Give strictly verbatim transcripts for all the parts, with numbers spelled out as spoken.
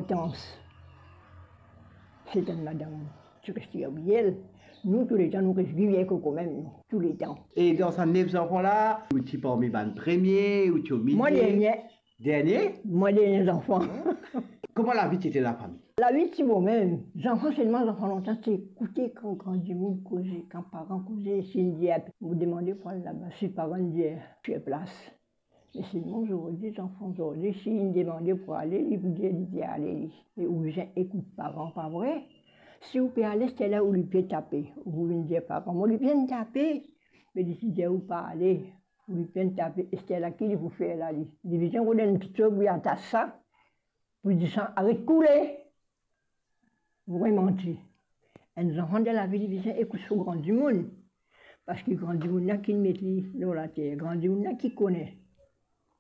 Tans. Se enn madam, ti res Rivier. Nou, touletan, nou res Rivier Koko mem, nou, touletan. E dan sa nef zanfan la, ou ti parmi bann premie, ou ti omilie? Mwa dernie. Dernie? Mwa dernie zanfan. Kouma lavi ti ete dan lafami? Lavi ti bon mem. Zanfan selman, zanfan lontan, ti ekoute kan gran dimoun koze, kan paran koze, si inn dir, mo demande pou al laba, si paran dir, ti lor plas. Me selman zordi, zanfan zordi, si inn demande pou ale, li pou dir li pe ale li. Me ou bizin ekout paran, pa vre? Si ou pe ale, se la ou lipie tape. Ou vinn dir paran, mo lipie inn tape, me li ti dir ou pa ale, ou lipie inn tape, se la ki li pou fer la li? Li bizin rod enn pito pou li atas sa, pou li disann, aret koule. Vremem ti. Enn zanfan dan lavi, li bizin ekout so gran dimoun. Parski gran dimoun la ki met li lor later, gran dimoun la ki kone.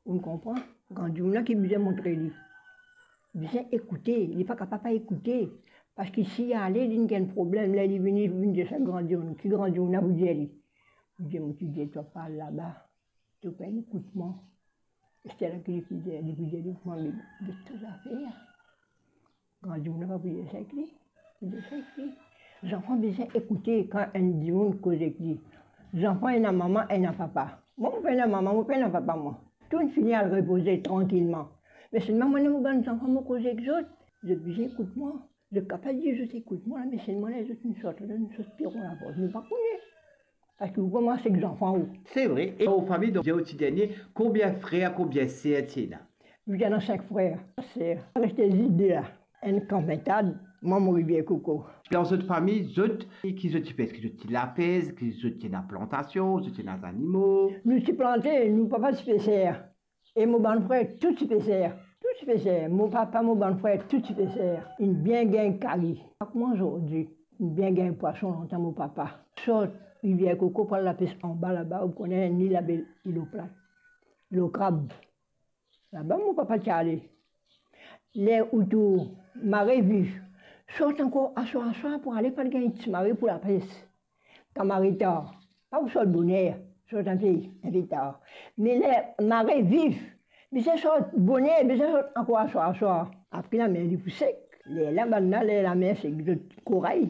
Ou konpran? Gran dimoun la ki bizin montre li. Bizin ekoute, li pa kapav pa ekoute. Parski si li ale, li gagn problem, ler li vini, vinn dir sa gran dimoun, ki gran dimoun la pou dir li? Pou dir, mo ti dir twa pa al laba. To pena ekout mwa. Ester la ki li pou dir, li pou dir li, mwa, me, me to zafer. Gran dimoun la pa pou dir sa ek li, pou dir sa ek li. Zanfan bizin ekoute kan enn dimoun koze ek li. Zanfan ena mama, ena papa. Mwa, mo pena mama, mo pena papa, mwa. Tou inn fini, al repoze trankilman. Me selman mwa, mo bann zanfan, mo koze ek zot. Zot bizin ekout mwa. Zot kapav dir zot ekout mwa la, me selman ler zot inn sorti, zot inn sot piron laport, nou pa kone. Parski ou koumans ek zanfan ou. Se vre. E ou fami, donk, ou ti dernie, konbien frer, konbien ser ti ena? Nou ti ena sink frer, ser. Reste zis de la. Enn Kanp Pintad, mwa mo Rivier Koko. Dan zot fami, zot, ki zot ti pe, ki zot ti lapes, ki zot ti ena plantasion, zot ti ena zanimo? Nou ti plante, nou papa ti peser. E mo bann frer, tou ti peser. Tou ti peser. Mo papa, mo bann frer, tou ti peser. Inn bien gagn kari. Pa kouma zordi. Inn bien gagn pwason lontan, mo papa. Sort Rivier Koko pou al lapes anba laba, ou kone enn lil label Ile Plat. Ile Krab. Laba mo papa ti ale. Ler ou tou mare vif, sort ankor aswar, aswar pou ale, pa gagn ti mare pou lapes. Kan mare tar, pa pou sort boner, sort inpe, inpe tar. Me ler mare vif, bizin sort boner, bizin sort ankor aswar, aswar. Apre lamer li pou sek. Lerla bann la, ler lamer sek, zot kouraz,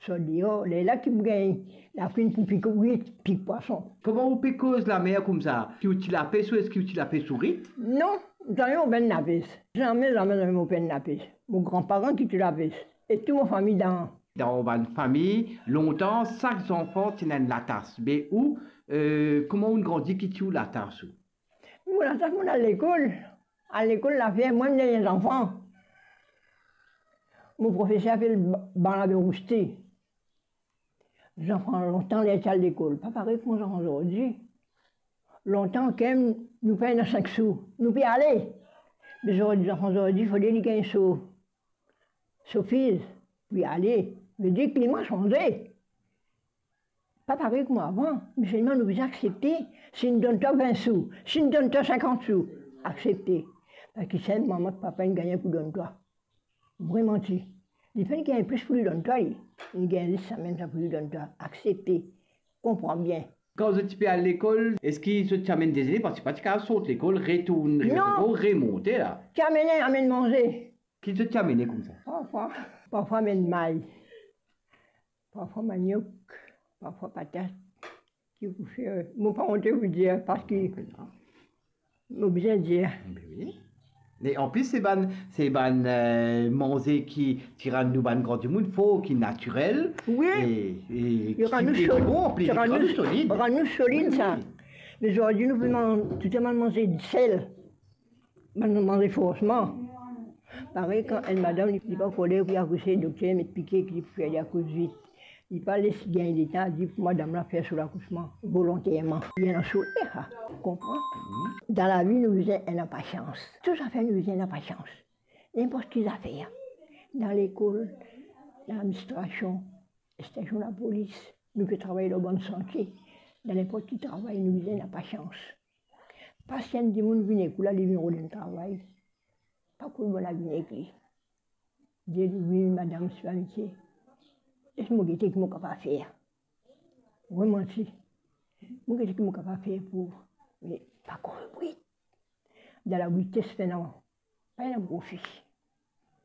sort deor. Lerla ki pou gagn lafrinn pou pik, wi, pik pwason. Kouma ou pe koz lamer koumsa? Ki ou ti lapes ou eski ou ti lapes ou rit? Non, zame mo pena lapes. Zame, zame, zame mo pena lapes. Mo granparan ki ti lapes. E tou mo fami dan Dan bann fami, lontan, sak zanfan ti ena enn latas. Be ou, eh, kouma ou'nn grandi, ki ti ou latas ou? Mo latas, mo'nn al lekol. Al lekol, lafer, mwa, mo dernie zanfan. Mo profeser apel Ba-, Barnabe Rousti. Zanfan lontan, ler ti al lekol, pa parey kouma zanfan zordi. Lontan, kan nou pena sink sou, nou pe ale. Me zordi, zanfan zordi, fode li gagn so so fiz pou li ale, vedir klima sanze. Pa parey kouma avan, me selman nou bizin aksepte. Si nou donn twa vin sou, si nou donn twa sinkant sou, aksepte. Parski sa mama ek papa inn gagn pou donn twa. Vremem ti. Li pa'nn gagn plis pou li donn twa, li. Li gagn zis samem sa pou li donn twa. Aksepte. Konpran bien. Kan zot ti pe al lekol, eski zot ti amenn dezene? Parski pa ti kapav sort lekol, retourn, non, remonte la. Ti amenn, amenn manze. Ki zot ti amene koumsa? Parfwa, parfwa amenn may, parfwa maniok, parfwa patat. Ki pou fer, mo pa onte pou dir, parski mo bizin dir. Be wi. Me anplis, se bann, se bann, eh, manze ki ti rann nou bann gran dimoun for, ki natirel. Wi. E, e ki, e ki bon, anplis, ki rann nou solid. Rann nou solid, wi, sa. Wi. Me zordi, nou pe manz, tou bann manze disel. Bann manze forsman. Parey kan enn madam, li, li pa ankor ler pou li akouche, dokter met pike ki li pou fer li akouch vit. Li pa les gagn letan, dir pou madam la fer so lakousman volonterman. Li ena so ler, konpran? Dan lavi, nou bizin ena pasians. Tou zafer, nou bizin ena pasians. Ninport ki zafer. Dan lekol, dan ladministrasion, stasion lapolis, nou pe travay lor bann santie. Dan ninport ki travay, nou bizin ena pasians. Parski enn dimoun vinn ek ou la, li vinn rod enn travay. Pa kouma mo la vinn ek li. Dir li, wi, madam, si pa misie, les mo gete ki mo kapav fer. Vremem ti. Mo gete ki mo kapav fer pou, me pa kour brit. Dan lawites pena, pena profi.